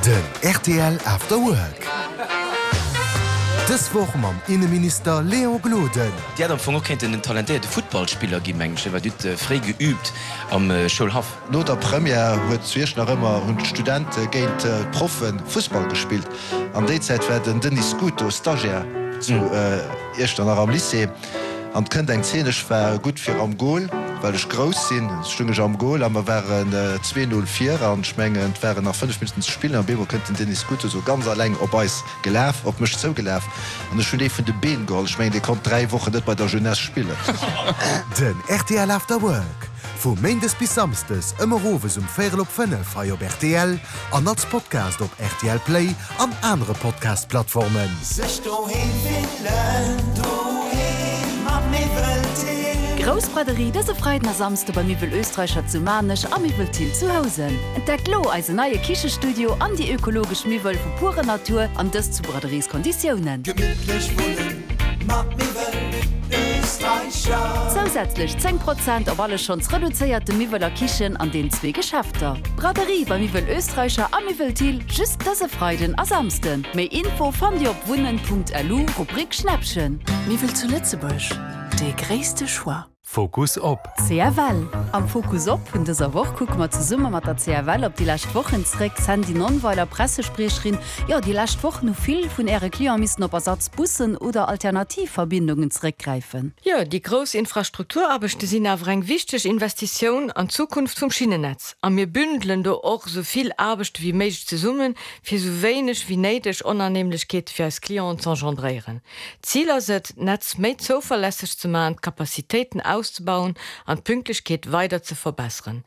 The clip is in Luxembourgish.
Den rtl After Work. Dës Woch mam Inneminister Léon Gloden. Dir hätt am Fong och kéinten en talentéierte Futtballspiller ginn, mengen ech, well Dir hutt fréi geüübt am Schoulhaff. No der Première huet zu Iechternach ëmmer hunn d'Studente géint d'Proffe Fussball gespillt. An déi Zäit war den Denis Scuto Stagiaire zu Iechternach am Lycée. An 't kënnt eng Zeen, ech war gutt fir am Goal, well ech grouss sinn, stung ech am Goal a mer waren 2, 0 vir an ech mengen 't waren nach 5 Minutten ze spillen an op eemol kënnt den Denis Scuto sou ganz alleng op eis gelaf, op mech zougelaf an ech hunn dee vun de Been geholl. Ech mengen dee konnt 3 Wochen net bei der Jeunesse spillen. Den rtl After Work, vu Méindes bis Samsdes ëmmer owes um véierel op 5 hei op rtl an als Podcast op rtl Play an anere Podcast-Plattformen. Sech doheem fillen, doheem mat Miwwel Thill. Grouss Braderie dëse Freiden a Samsde bei Miwwel Österreicher zu Maarnech a Miwwel Thill zu Housen. Entdeckt lo eisen neie Kichestudio an déi ökologesch Miwwel vu purer Natur an dëst zu Braderieskonditiounen. Gemittlech wunnen mat Miwwel Österreicher. Zousätzlech 10 Prozent op alle schonns reduzéierte Miwwel a Kichen an den zwee Geschäfter. Braderie bei Miwwel Österreicher a Miwwel Thill just dëse Freiden a Samsden. Méi Info fannt Dir op wunnen.lu, Rubrik Schnäppchen. Miwwel zu Lëtzebuerg, dee gréisste Choix. Fokus op. CFL. Am Fokus op vun dëser Woch kucke mer zesumme mat der CFL op déi lescht Wochen zréck. Sandy Nonnweiler, Pressespriecherin, Jo, déi lescht Wochen hu vill vun Äre Cliente missen op Ersatzbussen oder alternativ Verbindungen zeréckgräifen. Jo, déi grouss Infrastrukturaarbechte sinn awer eng wichteg Investitioun an d'Zukunft vum Schinnennetz. A mir bündelen do och esou vill Aarbechte wéi méiglech zesummen, fir esou wéineg wéi néideg Onannehmlechkeete fir eis Clienten z'engendréieren. D'Zil ass et, d'Netz méi zouverlässeg ze maachen, d'Capacitéiten auszebauen an d'Pünktlechkeet weider ze verbesseren.